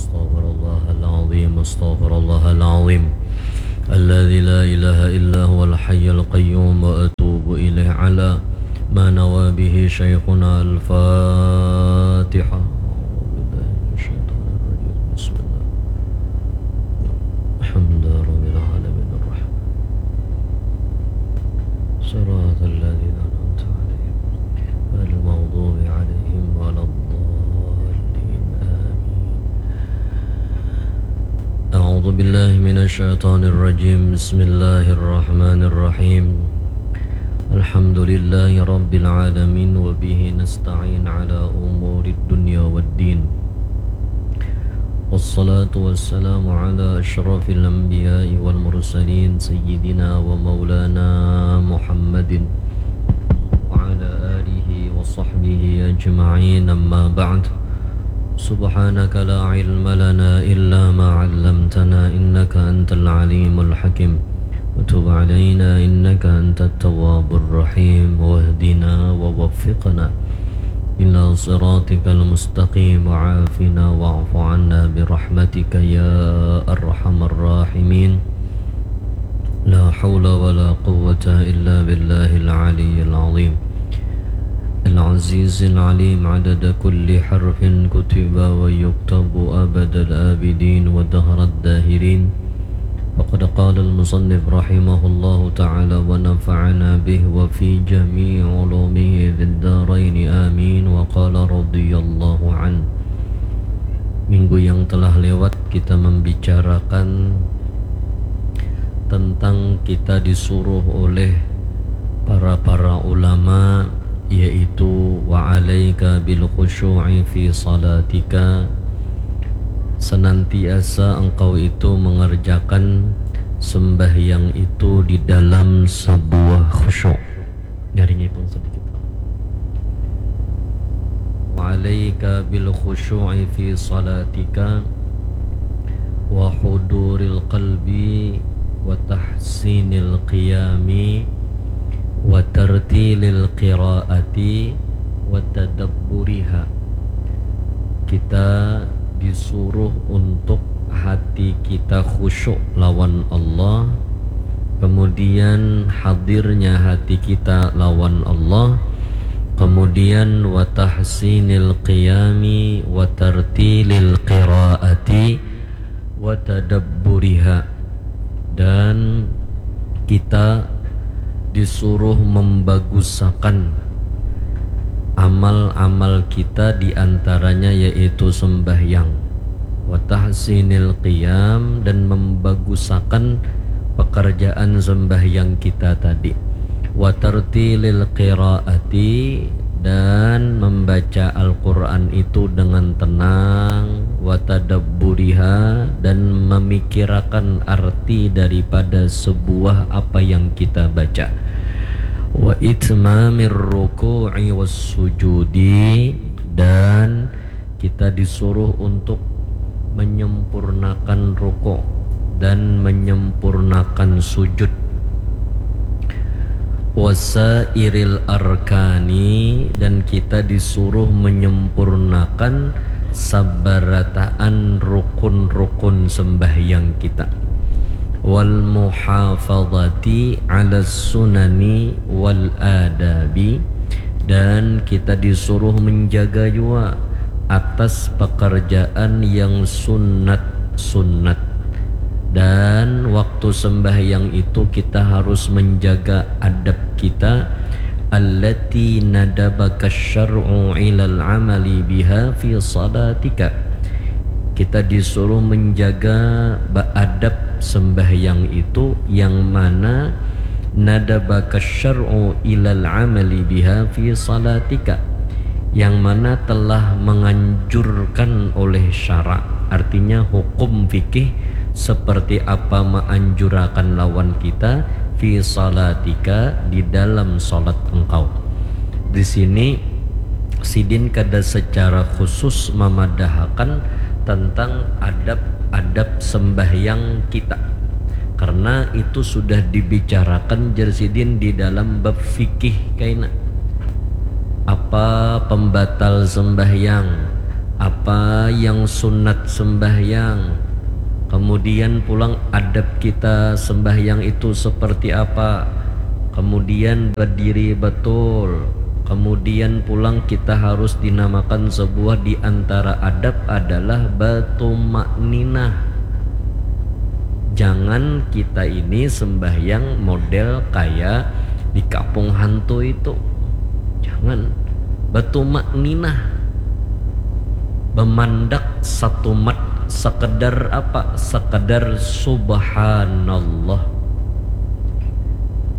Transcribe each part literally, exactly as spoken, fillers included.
أستغفر الله العظيم، أستغفر الله العظيم الذي لا إله إلا هو الحي القيوم وأتوب إليه على ما نوى به شيخنا. الفاتحة. أعوذ بالله من الشيطان الرجيم. بسم الله. الحمد لله رب العالمين الرحمن الرحيم. صراط الذين أنعمت عليهم غير المغضوب عليهم ولا الضالين. آمين. أعوذ بالله من الشيطان الرجيم. بسم الله الرحمن الرحيم. الحمد لله رب العالمين وبه نستعين على أمور الدنيا والدين. والصلاة والسلام على أشرف الأنبياء والمرسلين سيدنا ومولانا محمد وعلى آله وصحبه أجمعين. أما بعد. سبحانك لا علم لنا إلا ما علمتنا إنك أنت العليم الحكيم. وتب علينا إنك أنت التواب الرحيم. واهدنا ووفقنا إلى صراطك المستقيم وعافنا واعف عنا برحمتك يا أرحم الراحمين. لا حول ولا قوة إلا بالله العلي العظيم العزيز العليم عدد كل حرف كتب ويكتب أبد الآبدين ودهر الداهرين. وقد قال المصنف رحمه الله تعالى ونفعنا به وفي جميع علومه في الدارين آمين. وقال رضي الله عنه. Minggu yang telah lewat kita membicarakan tentang kita disuruh oleh para-para ulama, yaitu wa alaika bil khusyu'i fi salatika, senantiasa engkau itu mengerjakan sembahyang itu di dalam sebuah khusyuk. Nyaringipun sedikit. Wa alaika bil khusyu'i fi salatika wa huduril qalbi wa tahsinil qiyami wa tartilil qiraati wa tadabburiha. Kita disuruh untuk hati kita khusyuk lawan Allah, kemudian hadirnya hati kita lawan Allah, kemudian wa tahsinil qiyami wa tartilil qiraati wa tadabburiha, dan kita disuruh membagusakan amal-amal kita, di antaranya yaitu sembahyang, wa tahsinil qiyam, dan membagusakan pekerjaan sembahyang kita tadi, wa tartilil qiraati, dan membaca Al-Quran itu dengan tenang, wa tadabburiha, dan memikirakan arti daripada sebuah apa yang kita baca, wa itmamir ruku'i was sujudi, dan kita disuruh untuk menyempurnakan rukuk dan menyempurnakan sujud, wasairil arkani, dan kita disuruh menyempurnakan sabarataan rukun-rukun sembahyang kita, wal muhafadati ala sunani wal adabi, dan kita disuruh menjaga jua atas pekerjaan yang sunat-sunat. Dan waktu sembahyang itu kita harus menjaga adab kita, allati nadabaka syar'u ilal amali biha fi salatika. Kita disuruh menjaga ba-, adab sembahyang itu, yang mana nadabaka syar'u ilal amali biha fi salatika, yang mana telah menganjurkan oleh syara, artinya hukum fikih seperti apa menganjurakan lawan kita fi salatika, di dalam salat engkau. Di sini sidin kada secara khusus mamadahakan tentang adab-adab sembahyang kita, karena itu sudah dibicarakan, jar sidin, di dalam bab fikih kaina. Apa pembatal sembahyang, apa yang sunat sembahyang, kemudian pulang adab kita sembahyang itu seperti apa, kemudian berdiri betul, kemudian pulang kita harus dinamakan sebuah di antara adab adalah batumakninah. Jangan kita ini sembahyang model kayak dikapung hantu itu. Jangan. Batumakninah. Bemandak satumat sekedar apa? Sekedar subhanallah.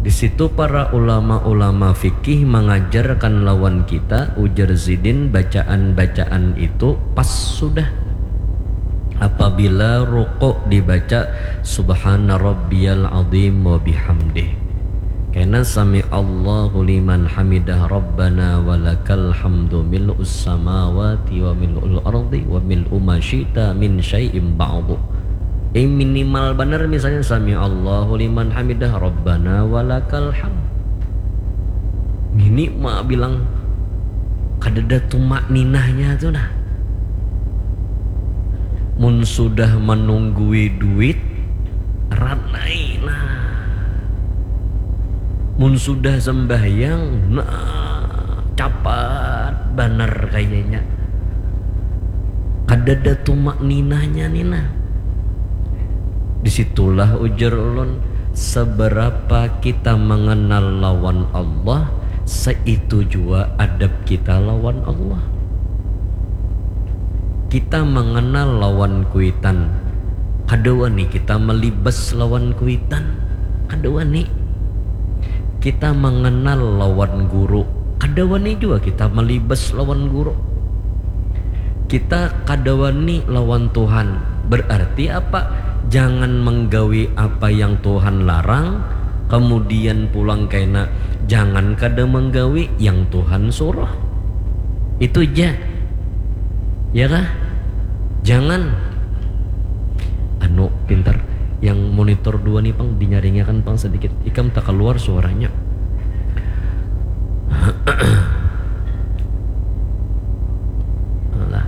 Di situ para ulama-ulama fikih mengajarkan lawan kita, ujar Zidin, bacaan-bacaan itu pas sudah. Apabila rukuk dibaca subhana rabbiyal azim wa bihamdih. Kena sami Allahu liman hamidah rabbana walakal hamdu mil'us samawati wa mil'ul ardi wa mil'u ma syi'ta min syai'im ba'du. Eh, minimal banar misalnya sami Allahu liman hamidah rabbana walakal hamd. Ngini ma bilang kadada tumakninahnya tu nah. Mun sudah manunggui duit, ranai nah. Mun sudah sembahyang, nah, capat banar kayanya. Kadada tumakninahnya ni nah. Disitulah ujar ulun, seberapa kita mengenal lawan Allah, seitu jua adab kita lawan Allah. Kita mengenal lawan kuitan, kada wani kita melibas lawan kuitan, kada wani. Kita mengenal lawan guru, kada wani jua kita melibas lawan guru. Kita kada wani lawan Tuhan. Berarti apa? Jangan menggawi apa yang Tuhan larang, kemudian pulang kena jangan kada menggawi yang Tuhan suruh. Itu ja. Ya kah? Jangan. Anu, pintar. Yang monitor dua nih, pang, dinyaringakan, pang, sedikit. Ikam tak keluar suaranya. Alah.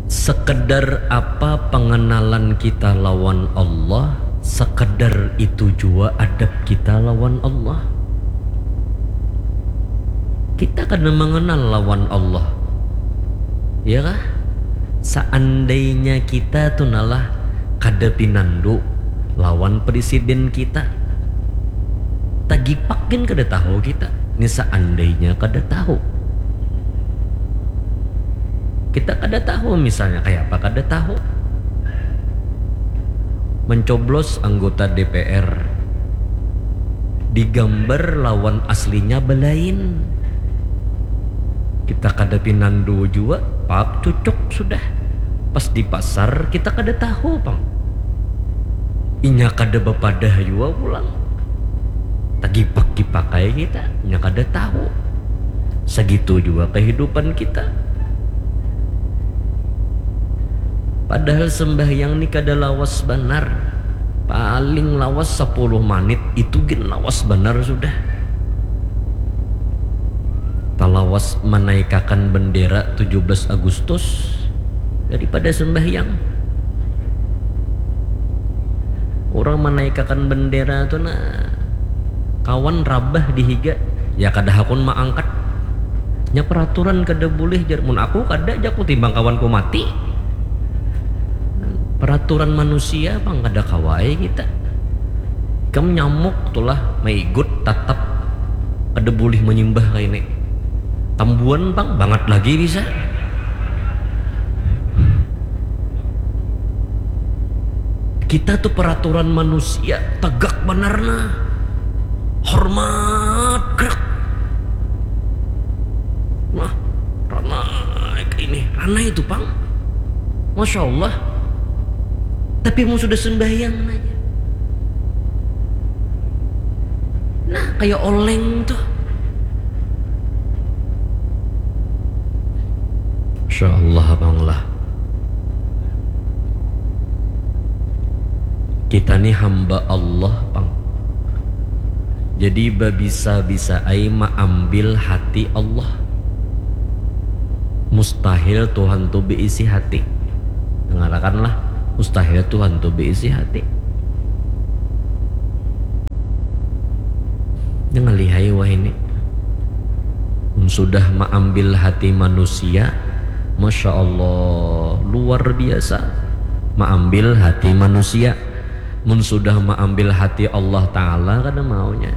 Sekedar apa pengenalan kita lawan Allah, sekedar itu jua adab kita lawan Allah. Kita kada mengenal lawan Allah. Ya kah? Seandainya kita tu nalah kada pinandu lawan presiden kita, tagipak gin kada tahu kita. Ni seandainya kada tahu. Kita kada tahu misalnya, kaya apa kada tahu. Mencoblos anggota D P R, digambar lawan aslinya belain. Kita kada pinandu jua, pap, cucuk sudah. Pas di pasar kita kada tahu pang. Inya kada bapadah jua pulang. Tagipak-gipak ai kita, inya kada tahu. Sagitu jua kehidupan kita. Padahal sembahyang ni kada lawas banar. Paling lawas sapuluh manit, itu gin lawas banar sudah. Talawas manaikakan bendera tujuh belas Agustus daripada sembahyang. Urang manaikakan bendera tu nah, kawan rabah di higa, ya kada hakun maangkat. Nya peraturan kada bulih jar, mun aku kada, jaku, timbang kawanku mati. Peraturan manusia pang kada kawa ai kita. Ikam nyamuk tulah maigut tatap kada bulih manyimbah kaini. Tambuan pang bangat lagi bisa. Kita tu peraturan manusia tegak banar nah. Hormat, krak. Nah, ranai kaini, ranai tu pang. Masya Allah. Tapi mun sudah sembahyang nanya. Nah, kaya oleng tuh. Masya Allah, pang lah. Kita ni hamba Allah pang. Jadi babisa-bisa ai maambil hati Allah. Mustahil Tuhan tu beisi hati. Dangarakanlah, mustahil Tuhan tu beisi hati. Jangan lihai wah ini. Mun sudah maambil hati manusia, Masya Allah, luar biasa. Maambil hati manusia. Mun sudah maambil hati Allah Ta'ala, kada maunya.